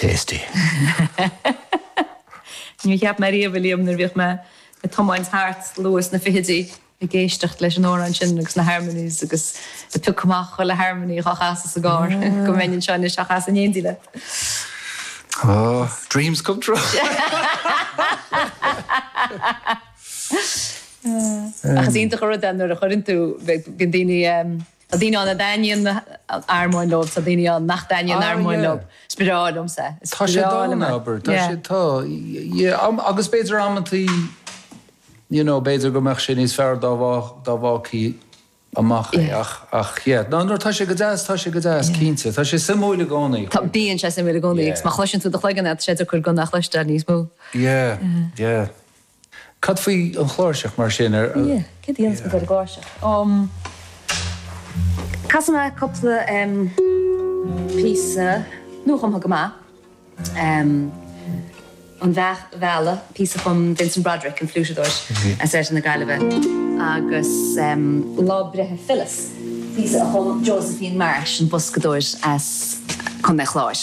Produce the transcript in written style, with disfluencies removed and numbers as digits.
Tasty. Níor cheap mé riamh, a Liam, nuair a bhíodh mé ag tiomáint thart luath sna fichidí ag éisteacht leis an amhrán sin agus na harmonies agus ag piocadh amach chuile harmony dhá chasadh sa gcarr go mbeinn anseo anois á chasadh in éindí leat. Oh, dreams come true. Ach is iontach an rud é nuair a chuireann tú, bíonn daoine, tá daoine ann a dtaitníonn an armóin leo, tá daoine ann nach dtaitníonn an armóin leo. Is breá liomsa é. Is Tá sé breá liom dána, é. abair. Tá Yeah. sé, tá, yeah, agus b'fhéidir amantaí, you know, b'fhéidir go mbeadh sé níos fearr dá dá bhfágfaí amach é ach, ach yeah. No, nuair atá sé go deas, tá sé go deas, cinnte. Tá sé suimiúil i gcónaí. Tá, bíonn sé suimiúil i gcónaí agus má chloiseann tú i do chloigeann é, tá sé deacair gan é a chloisteáil níos mó. Yeah, yeah. Cad faoi an chláirseach mar sin? Ar, Yeah, céard a dhéanfas muid ar an gcláirseach? Um, casfaidh mé cúpla um, píosa nuachumtha go maith. Um, An Bheach Mheala, píosa a chum Vincent Broderick, an fliúiteadóir as oirthear na Gaillimhe, agus um, Lá Breithe Phyllis, píosa a chum Josephine Marsh, an boscadóir as Contae an Chláir.